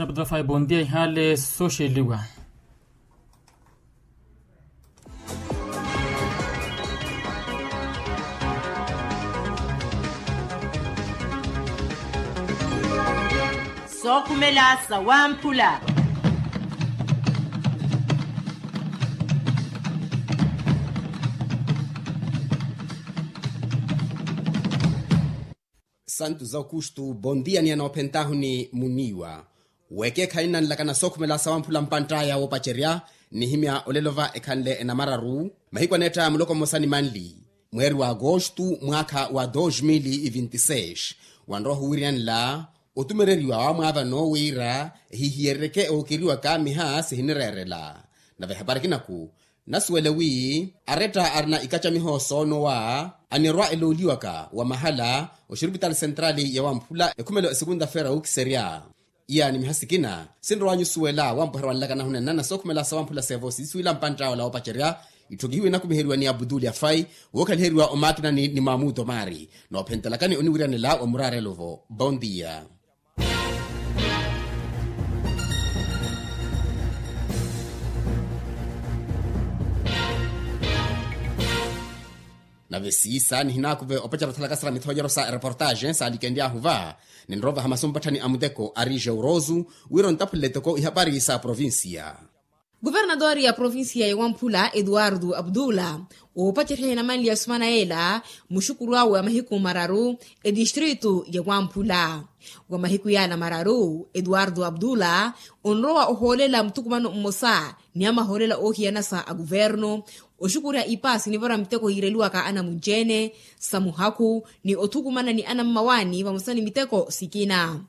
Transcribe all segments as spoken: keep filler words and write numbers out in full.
Bondia ihale soxeliwa. Sookhumela sawamphula. Santu za okustu bondia ni anoophentahuni muniiwa. Wekeekhayi nnanlakana sookhumela sawamphula mpantt'aya woopacerya. Nihimya olelo va ekhanle enamararu mahiku aneetta muloko mmosa ni manli mweeri wa agostu mwaakha wa dos mil vinti seis. Wanrowa ohuwiryanla otumereriwa wamwaavano wira ehihiyerereke ookeriwaka miha sihinireerela. Nave ehapari kinaku nasuwele wi aretta arina ikacamiho soonowa anirwa elooliwaka wa mahala oxirupitali sentrali ya wamphula ekhumelo esekunta fera wukiserya. Iya ni miha sikina sinrowanyu suwela wampweherwa nlaka nahunenana sookhumela sawamphula sevo siisuwila mpantta ola woopacerya. Itthokihiwe inakumiheriwa ni abuduli afai wookhaliheriwa omakinani ni mamuto mari noophentelakani oniwiryanela wa muraarelo vo bondia. Nave siisa nihinakuve opacerya othalaka sara mithoonyeryo sa ereportaxe saalikenly'ahu va ninrovaha masu mpatthani a muteko ari jeurosu wira ontaphulele toko ihapari sa provincia. Kuvernatori ya provincia ya wamphula etuwartu aputula oopacerya hinamanli ya sumana yeela muxukuru awe wa mahiku mararu etistritu ya wamphula wa mahiku yaala mararu etuwartu aputula onrowa ohoolela muthukumano mmosa ni amahoolela oohiyanasa a kuvernu oxukurya ipaasi nivara miteko yiireliwaka anamunci-ene sa muhaku ni othukumana ni anammawaani vamosa ni miteko sikina.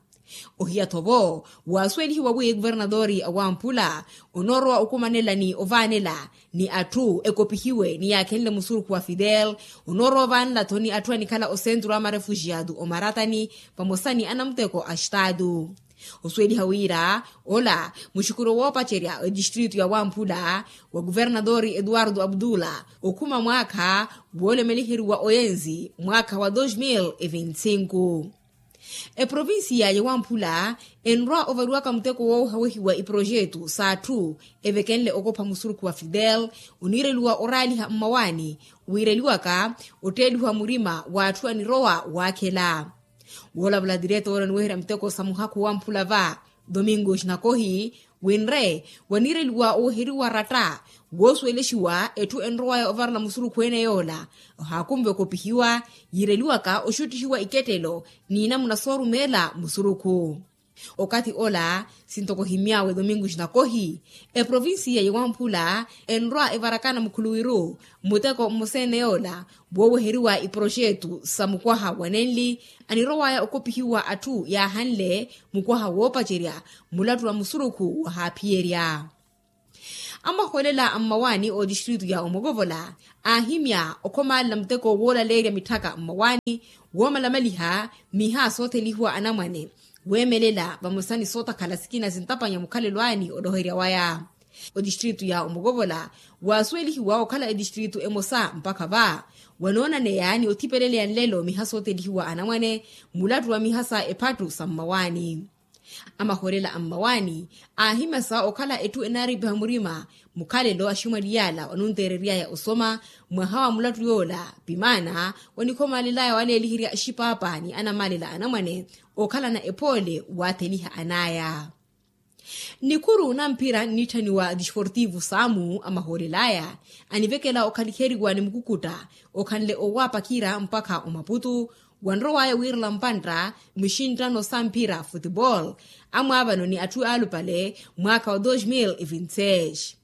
Ohiya-tho vo waasuwelihiwa wi kuvernatori a wamphula onoorowa okumanela ni ovaanela ni atthu ekopihiwe ni yaakhenle musurukhu wa fidel onoorowa ovaanela-tho ni atthu anikhala osentru a marefuxiatu omaratani vamosa ni anamuteko a xitaatu. Osuweliha wira ola muxukuru woopacerya etistritu ya wamphula wa kuvernatori etuwartu aputula okhuma mwaakha woolemeliheriwa oyenzi mwaakha wa dos mil e vinti sinku. Eprovincia ya wamphula enrwa ovariwaka muteko woohawehiwa iprojetu s'atthu evekenle okopha musurukhu wa fidel oniireliwa oraaliha mmawaani wiireliwaka otteelihiwa murima w'atthu anirowa waakhela. Woolavula tireto woola oniweherya muteko sa muhakhu wamphula va domingo xinakohi winre waniireliwa oweheriwa ratta woosuwelexiwa etthu enrowaya ovarela musurukhu ene yoola ohaakunve okopihiwa yiireliwaka oxuttihiwa ikettelo n'inamuna soorumeela musurukhu. Okathi ola sintoko ohimy'awe domingo xinakohi eprovincia ya wamphula enrwa evarakana mukhuluwiru muteko mmosa ene yoola wooweheriwa iproxetu sa mukwaha wa nenli anirowaya okopihiwa atthu yaahanle mukwaha woopacerya mulattu wa musurukhu wahaaphiyerya. Amahoolela a mmawaani otistritu ya omokovola aahimya okhomaalela muteko woolaleerya mitthaka mmawaani woomalamaliha miha soothelihiwa anamwane weemelela vamosa ni sootakhala sikina sintapanya mukhalelo aani oloherya waya. Otistritu ya omokovola waasuwelihiwa okhala etistritu emosa mpakha va wanoonaneya ni othipeleleya nlelo miha soothelihiwa anamwane mulattu wa miha sa ephattu sa mmawaani. Amahoolela a mmawaani aahimyasa okhala etthu enaaripiha murima mukhalelo aximwali yaala wanunteereryaya osoma mwaha wa mulattu yoola pimaana wanikhomaalelaya waleeliherya axipaapa ni anamaalela anamwane okhalana ephoole waatheliha anaya. Nikhuru na mphira nnitthaniwa disportivu saamu amahoolelaya anivekela okhaliheriwa ni mukukutta okhanle owaapakira mpakha omaputu wanrowaya wiirela mpantta muxinttano sa mphira futebol amwaavano ni atthu aalupale mwaakha wa dos mil e vinti seis.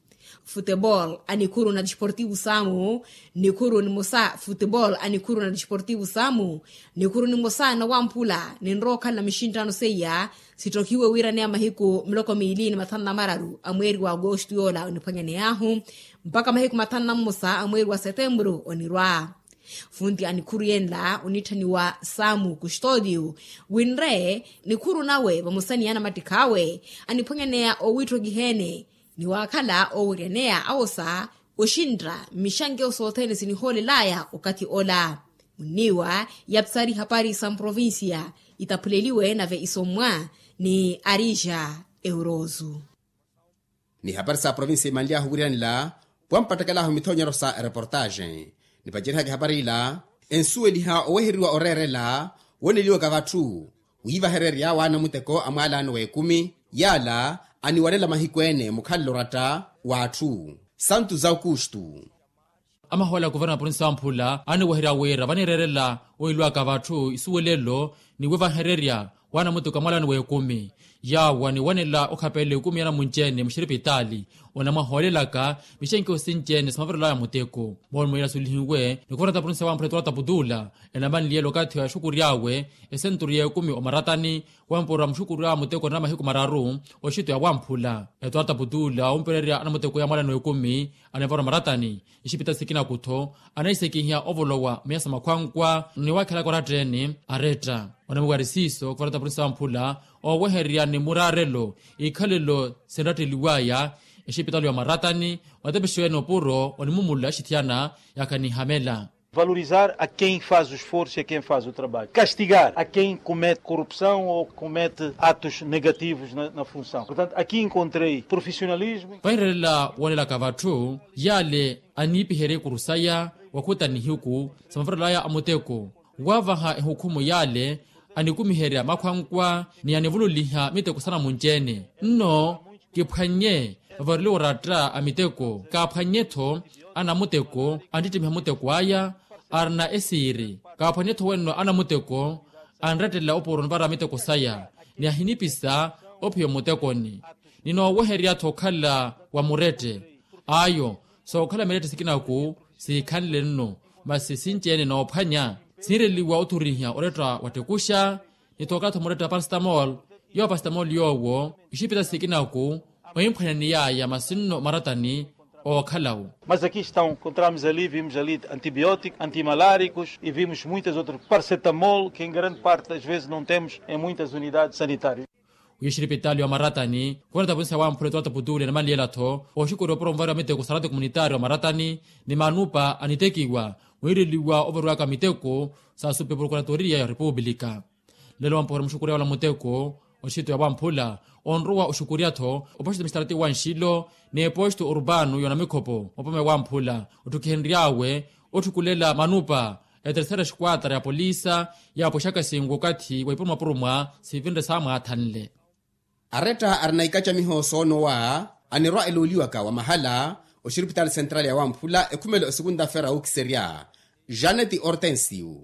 Futebol a nikhuru na disportivu saamu nikhuru nimosa futebol a nikhuru na disportivu saamu nikhuru nimosa na wamphula ninrowa okhala muxinttano seiya sittokiwe wiiraneya mahiku miloko miili ni mathanu na mararu a mweeri wa agostu yoola oniphwanyaney'ahu mpakha mahiku mathanu na mmosa a mweeri wa setemburu onirwa. Funti a nikhuru yenla onitthaniwa saamu kustodio winre nikhuru nawe vamosa ni anamattikh'awe aniphwanyaneya owiitthokiha-ene ni waakhala ooweryaneya awosa oxintta mmixankeyo sothene sinihoolelaya okathi ola. Munniiwa yapsari hapari sa mprovincia itaphuleliwe nave isommwa ni arija. Eurozu. Ni hapari sa provinsi imanly'ahu wiriyanela pwampattakelahu mithonyero sa ereportaxe. Nipacerihaka ehapari ila ensuweliha owehereriwa oreerela wooneliwaka vatthu wiivahererya waana muteko a mwaalano w'ekumi yaala aniwanela mahiku ene mukhalelo oratta w'atthu. Santu zaukustu. Amahoole a kuverna a provinsi wamphula aniweherya wira vanireerela oilwaka vatthu isuwelelo ni wivahererya waana muteko a mwaalano w'ekumi yaawo aniwanela okhapelela ekumi ya namunci-ene muxiripitaali onamwahoolelaka mixenkiho sinci-ene sa mavirelaya muteko moolumwelela sulihiwe ni kuverna a provinsi wamphula etuwarata putula enamanliyela okathi wa exukury'awe esenturu y'ekumi omaratani wampura muxukury'awe muteko na mahiku mararu oxito ya wamphula etuwarata putula ompererya anamuteko ya mwaalano w'ekumi anevara omaratani ixipita sikinaku-tho anahisekihiya ovolowa miyasa makhwankwa ni wakhelaka oratta-ene aretta onamuwari siiso kuvarata polisi wamphula owehererya ni muraarelo ikhalelo sinratteliwaya exipitali ya omaratani otepexiwene opuro onimumula axithiyana yakhanihamela. Valorizar a quem faz o esforço e a quem faz o trabalho, castigar a quem comete corrupção ou comete atos negativos na função portanto aqui encontrei profissionalismo. Vahirelela woonelaka vatthu yale aniipiherya ikuru saya wakhuta nihiku sa mavarelaya a muteko waavaha ehukhumu yale anikumiherya makhwankwa ni anivululiha miteko sa namunci-ene nno kiphwannye vavareliwa oratta a miteko kaaphwannye-tho anamuteko anttittimiha muteko aya arina esiiri kaaphwannye-tho wenno anamuteko anrettelela opuro onivara miteko saya ni ahinipisa ophiya omutekoni ni noowehererya-tho okhala wa murette ayo sookhala mirette sikinaku siikhanle nno masi sinci-ene noophwanya sinreliwa othuriha oretta wattekuxa ni tookhala-tho muretta parastamol yoowo parastamol yoowo ixipita sikinaku oimphwanyaniyaya masi nno maratani ookhalawo. Mas aqui estão encontramos ali vimos ali antibióticos antimaláricos e vimos muitas outras paracetamol que em grande parte das vezes não temos em muitas unidades sanitárias. Wiixiripitaali wa maratani khuvana tapunsa wamphula etuwata putuli anamanliyela-tho oxukuri opuro onvariwa miteko sarate komunitaari wa maratani ni manupa anitekiwa mwiireliwa ovariwaka miteko sa supepurukuratoriya ya repupulika. Lelo wampohera muxukuri awe ola muteko oxito ya wamphula onrowa oxukurya-tho opoxito misitarati wa nxilo n'epoxito urbano y'onamikhopo opome wamphula otthukihenry'awe otthukulela manupa etersera esquadra ya polisa yaapwexaka singu okathi wa ipurumapuruma sivinre saamwaathanle. Aretta arina ikacamiho soonowa anirwa elooliwaka wa mahala oxiripitaali sentrali ya wamphula ekhumelo esukunta-feira wukiserya janet hortensio.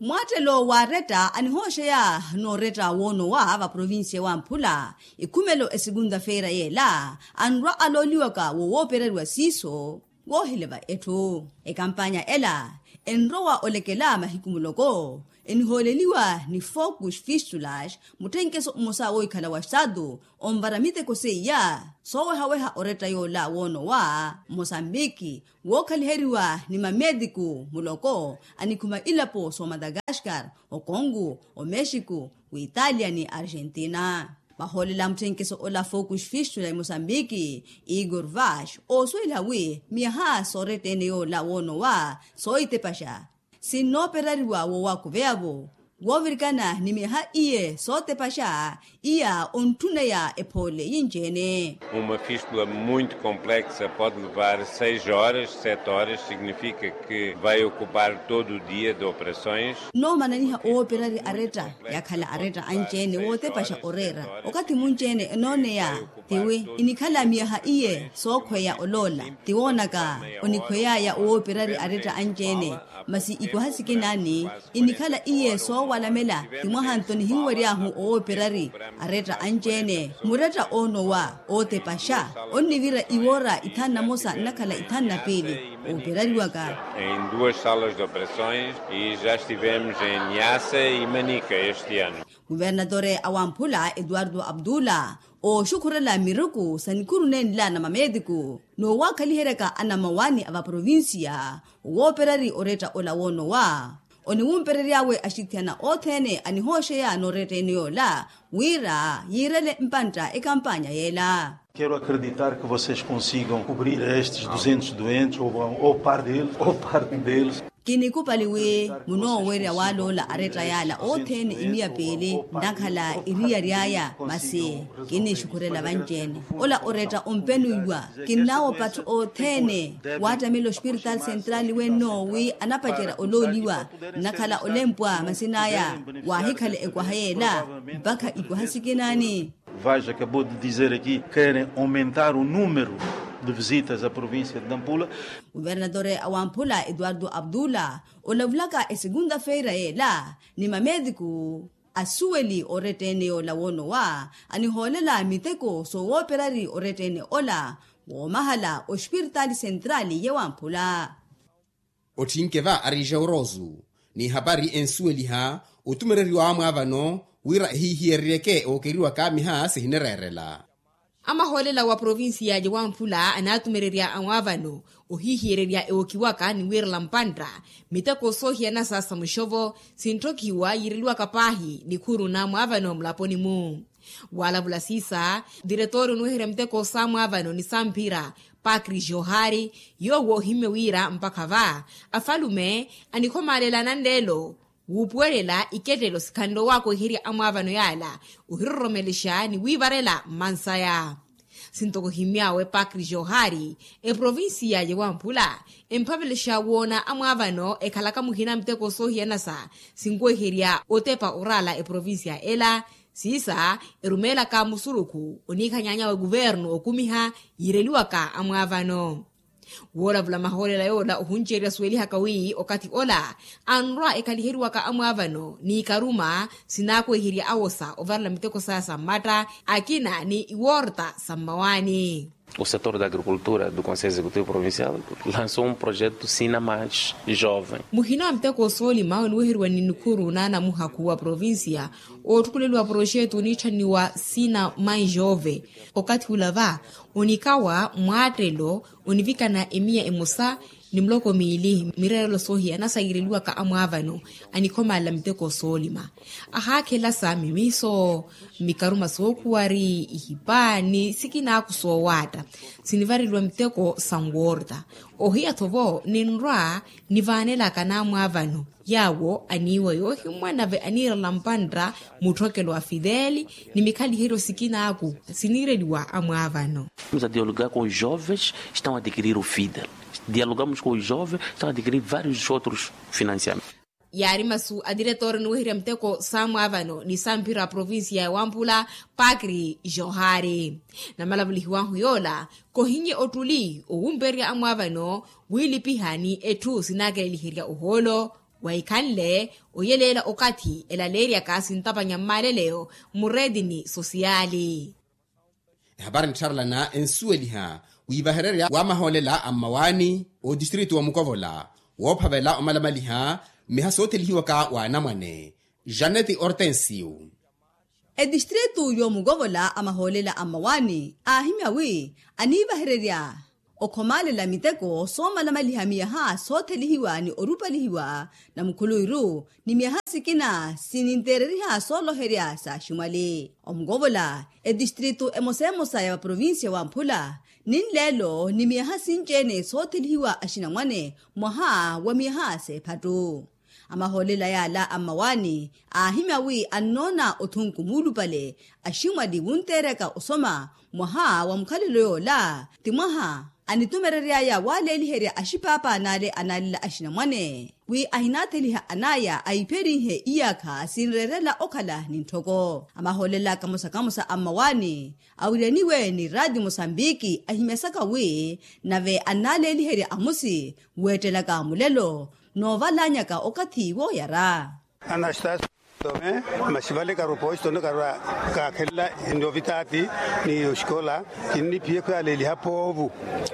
Mwaattelo w'aretta anihooxeya n'oretta woonowa va provincia wamphula ekhumelo esukunta-feira yeela anrwa alooliwaka wo woopereriwa siiso woohileva etthu ekampanya ela enrowa olekela mahiku muloko enihooleliwa ni focus fistulas mutthenkeso mmosa woohikhala wa estatu onvara miteko seiya soowehaweha oretta yoola woonowa mosambiki wookhaliheriwa ni mameetiku muloko anikhuma ilapo s'omadagaskar okongu omexiku w'italia ni argentina. Vahoolela mutthenkeso ola focus fistulas mosambiki igor vash oosuweliha wi miyaha sooretta-ene yoola woonowa soohitepaxa sinnooperariwa woowakuveyavo woovirikana ni miyaha iye sootepaxa iya ontthuneya ephoole yinci-ene. Uma fístula muito complexa pode levar seis horas sete horas significa que vai ocupar todo o dia de operações. Nnoomananiha owooperari aretta yakhala aretta anci-ene wootepaxa oreera okathi munci-ene enooneya tiwi inikhala miyaha iye sookhweya oloola tiwoonaka onikhweyaya owooperari aretta anci-ene masi ikwaha sikinaani inikhala iye soowalamela ti mwaha nto nihinwery'ahu owooperari aretta anci-ene muretta oonowa ootepaxa onnivira iwoora ithanu na mosa nnakhala ithanu na piili ooperariwaka. Em duas salas de operações e já estivemos em niasa e manica este ano. Kuvernatore a wamphula etuwarto abdula ooxukhurela miruku sa nikhuru nenla na mameetiku noowaakhaliheryaka anamawaani a vaprovincia owooperari oretta ola woonowa oniwumperery'awe axithiyana othene anihooxeya n'oretta ene yoola wira yiirele mpantta ekampanya yeela. Quero acreditar que vocês consigam cobrir estes duzentos doentes ou parte deles ou parte deles. Kinikupali wi munoowerya waloola aretta yala othene imiya piili, nnakhala iriyari aya masi kinixukhurela vanci-ene. Ola oretta ompenuiwa. Kinnawopattu othene wattamela ospirtal central wenno wi anapacerya olooliwa, nnakhala olempwa masin'aya wahikhala ekwaha yela mpakha ikwaha sikinani. Vaja acabou de dizer aqui, querem aumentar o número de visitas à província de Nampula. Kuvernatore a wamphula eduardo abdula olavulaka esegunda feira yela ni mamediku asuweli orettene yola wonowa anihoolela miteko soowoperari orettene ola woomahala ospirtal central ya wamphula. Otthinke va ari jaurosu n'ihapari ensuweliha otumereriwa amwaavano wira ehihiyereryeke ookeriwaka miha sihinereerela. Amahoolela wa provincia ya wamphula anaatumererya amwaavano ohihiyereerya ewokiwaka ni wiirela mpantta miteko soohiyanasa sa muxovo sintthokihiwa yiireliwaka paahi nikhuru n'amwaavano mulaponi-mu. Walavula siisa, diretore onuweherya miteko s'amwaavano ni samphira pakri johari yoowo ohimmye wira mpakha va afalume anikhomaalela nanleelo wuupuwelela ikettelo sikhanle owaakweherya amwaavano yala ohiroromelexa ni wiivarela mmansaya. Sintoko ohimmy'awe pakri johari eprovincia ya wamphula emphavelexa woona amwaavano ekhalaka muhina miteko soohiyanasa sinkuweherya otepa oraala eprovincia ela siisa erumeelaka musurukhu oniikhanyaanyawe kuvernu okumiha yiireliwaka amwaavano. Woolavula mahoolela yoola ohunceerya suwelihaka wi okathi ola anrwa ekhaliheriwaka amwaavano n'ikaruma sinaakweherya awosa ovarela miteko saya sa mmatta akina ni iworta sa mmawaani. O setor da agricultura do conselho executivo provincial lançou um projeto sina mais jovem. Muhina wa miteko soolima oniweheriwa ni nikhuru n'anamuhakhu wa provincia oottukuleliwa proxeto oniitthaniwa sina mais jove. Okathi ula va onikawa mwaattelo onivikana emiya emosa ni muloko miili mireerelo soohiyanasa yiireliwaka amwaavano anikhomaalela miteko soolima. Ahaakhelasa mimiso mikaruma sookhuwari ihipa ni sikinaaku soowaatta sinivareliwa miteko sa nworta ohiya-tho vo ninrwa nivaanelaka n'amwaavano yaawo aniiwa yoohimwa nave aniirela mpantta mutthokelo wa fidel ni mikhaliheryo sikinaaku siniireliwa amwaavano. Vamos a dialogar com os jovens estão a adquirir o fidel. Dialogamos com os jovens estão a adquirir vários outros financiamentos. Yaari masu a diretore niweherya miteko s'amwaavano ni samphira a provincia ya wamphula pakri johari. Namalavulihiwahu yoola kohinye ottuli owumpererya amwaavano wiilipiha ni etthu sinaakeleliherya ohoolo wahikhanle oyeleela okathi elaleeryaka sintapanya mmaaleleyo mmureetini sosiyali. Ehapari nttharelana ensuweliha wiivahererya wa mahoolela a mmawaani otistritu wa mukovola woophavela omalamaliha mmiha soothelihiwaka w'anamwane. Janeti ortensio. Etistritu y'omukovola a mahoolela a mmawaani aahimya wi aniivahererya okhomaalela miteko soomalamaliha miyaha soothelihiwa ni orupalihiwa na mukhuluwiru ni miyaha sikina sininteereriha sooloherya s'aximwali omukovola etistritu emosa emosa ya vaprovincia wamphula ni nleelo ni miyaha sinci-ene soothelihiwa axinamwane mwaha wa miyaha s'ephattu. Amahoolela yaala a mmawaani aahimya wi annoona othunku muulupale aximwali wunteeryaka osoma mwaha wa mukhalelo yoola ti mwaha anitumereryaya waleeliherya axipaapaan'ale anaalela axinamwane wi ahinaatheliha an'aya aipherinhe iyaakha sinreerela okhala ni ntthoko. Amahoolela kamosa kamosa a mmawaani awiryaniwe ni raati mosambiki ahimyasaka wi nave annaaleeliherya amusi weettelaka mulelo noovalanyaka okathi wooyara. Anastasio tome masi vale karoposito ni karwa kaakhelela novitaati ni oxikola kinniphiye khuyaleeliha poovu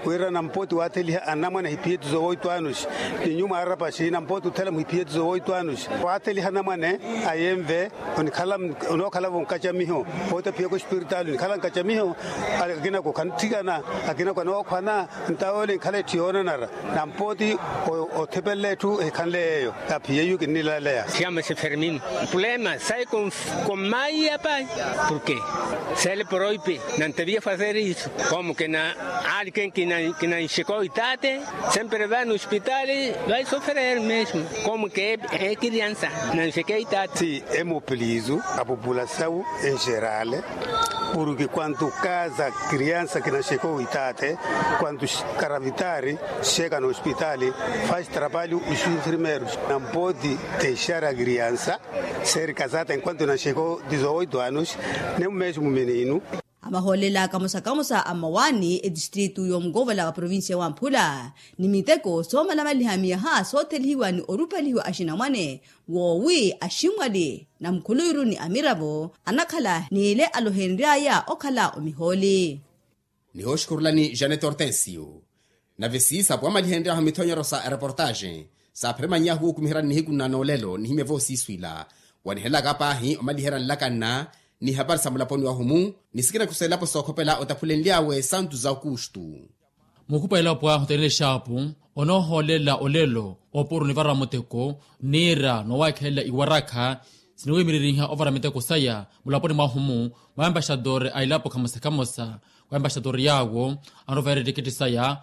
wira nampoti waatheliha anamwane ahiphiyeti zowoitwanusi ni nyuma arapasi nampoti othela muhiphiyeti zowoitwanusi waatheliha anamwane ayenve onikhala onookhalavo nkacamiho. Poote phiyeko espiritaali onikhala nkacamiho akinako khanthikana akinako anookhwana ntawoole nkhala etthu yoonanara. Nampooti othipelele etthu ehikhanle yeeyo aphiye iyu kinnilaleya. Siyamasi fermin. Lema sai. Konmaiya pai. Porke sele poroipi. Nanteviya fazer isu. Komo kena ali ken kinanxeko itate. Sempre vai no ospitali. Vai soferer mesmo. Komo ke ekiriansa nanxeke itate. Emopolisu a populasaw en gerale. Porke kuantu kaza kiriansa kinanxeko itate, kuantu karavitari xeka no ospitali, fasi trabalhu os enfermeros. Nan podi dexar a kiriansa. Ser kazata enkuantu nanxeko dizoito anos. Nemu mesmo menino. Amahoolela kamosa kamosa a mmawaani etistritu y'omukovola wa provincia wa mphula ni miteko soomalamaliha miyaha soothelihiwa ni orupalihiwa axinamwane, woowi aximwali na mukhuluwiru ni amiravo anakhala n'ile alohenry'aya okhala omihooli. Nihooxukhurulani janet hortensio. Nave siisa pwamalihenry'ahu mithonyero sa ereportaxe saapheremany'ahu wookumiheryani nihiku nna noolelo nihimya voosiiswila wanihelaka paahi omaliherya nlaka nna ni hapari sa mulaponi wahu-mu ni sikina kusa elapo sookhopela otaphulenly'awe santu za okustu. Mukhupwa elapo ahu tenelexaapu onoohoolela olelo opuro nivara muteko niira noowakhelela iwarakha siniwimiririha ovara miteko saya mulaponi mwahu-mu mwa embaxadore a elapo khamosa khamosa. Wa embaxadore yaawo anoveera ettiketi saya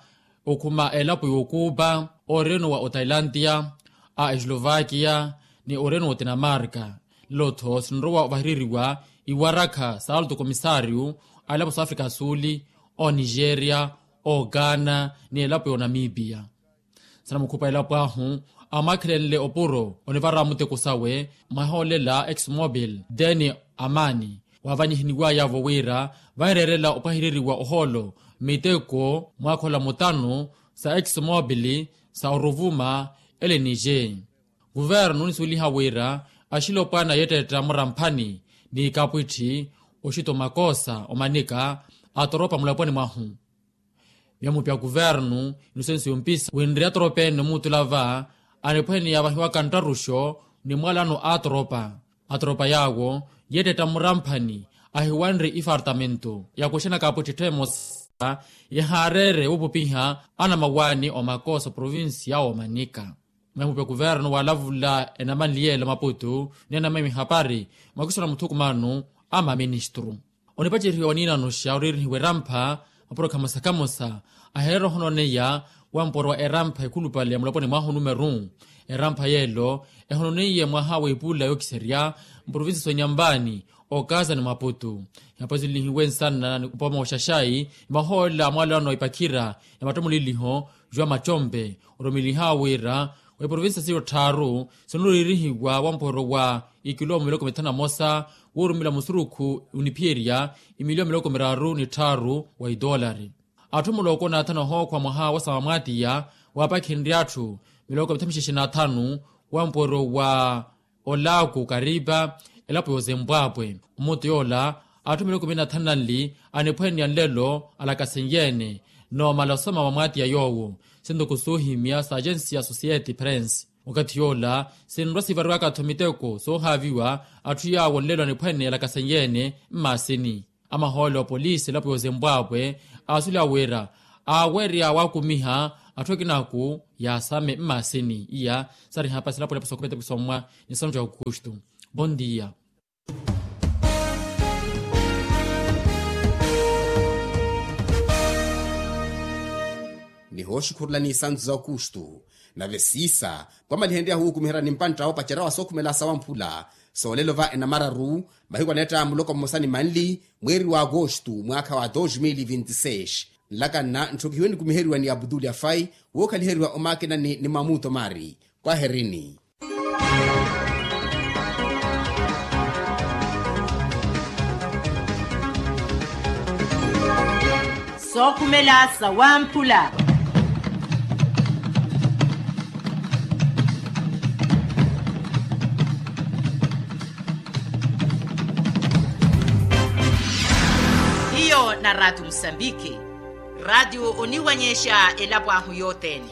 okhuma elapo y'okupa oreno wa otailantia a eslovakia ni oreno wa otinamarka. Lelo-tho sinrowa ovahireriwa iwarakha sa alto komisario a elapo sa afrika suli, onigeria, ogana ni elapo y'onamipia. Sanamukhupwa elapo ahu amwakhelenle opuro onivara muteko sawe mwahoolela exmobil deni amani waavanyihiniwayavo wira vanreerela opwahireriwa ohoolo miteko mwaakhola mutanu sa exmobil sa oruvuma. Ele nije kuvernu nisuweliha wira axilopwana yeettetta muramphani ni kapwitthi oxita omakoosa omanika atoropa mulaponi mwahu. Miyamupya kuvernu inusensu yompisa winri atoropa ene omuutula va aniphwene yaavahiwaka nttaruxo ni mwalano a atoropa. Atoropa yaawo yeettetta muramphani ahiwanre ifartamento yakuxena kapwitthi ettha emosa yahaareere wupupiha anamawaani omakoosa provincia woomanika. Mwemupe kuvernu waalavula enamanli yeela maputu ni anamemi hapari mwakiso na muthukumano a maministru. Onipacerihiwa waniinanoxa oriirihiwa erampha mapurokha mosa khamosa aheereera ohononeya wa mporo wa erampha ekhulupale ya mulaponi mwahu numeru. Erampha yeelo ehononeiye mwaha wa ipula yookiserya mprovinsi soonyambaani okaza ni maputu. Hiyapazulilihiwe nsana ni upoma wa xaxai ni mahoolela a mwalano a ipakhira ya mattomuliliho jwa mattompe oromeliha wira wa iprovinsi siyo tthaaru sinoriirihiwa wa mporo wa ikiloomo miloko mithanu na mosa woorumela musurukhu oniphiyerya imiliyoni miloko miraaru ni tthaaru wa itoolari. Atthu muloko naathana ohookhwa mwaha wa samamwaatiya waapakhenrye atthu miloko mithanu mixexe na athanu wa mporo wa olaaku karipa elapo yoozempwaapwe omutu yoola atthu miloko mili na thanu na nli aniphwene ya nlelo alakasenyeene noomala osoma wa mwaatiya yoowo. Sintoko soohimya sa agensi ya society prince wakathi yoola sinrwa sivariwaka-tho miteko soohaaviwa atthu yaawo nlelo aniphwene alakasenyeene mmaasini. Amahoole opolisi elapo yoozempwaapwe aasuleya wira aawerya waakumiha atthu akinaku yaasame mmaasini iya. Sari hapasi elapo elapo sookhupeta pisommwa ni santu ya okustu. Bondia. Nihooxukhurulani isantu za okustu nave siisa pwamalihenryahu wuukumiherya ni mpantta woopacerya wa sookhumela sawamphula soolelo va enamararu mahiku aneetta muloko mmosa ni manli mweeri wa agostu mwaakha wa dos mil vinti seis. Nlaka nna ntthokihiwe nikumiheriwa ni abdul afai wookhaliheriwa omakinani ni mamuto mari. Kwaherini. Sookhumela sawamphula. Hiyo na raatio musambiki. Raatio oniwanyexa elapo ahu yothene.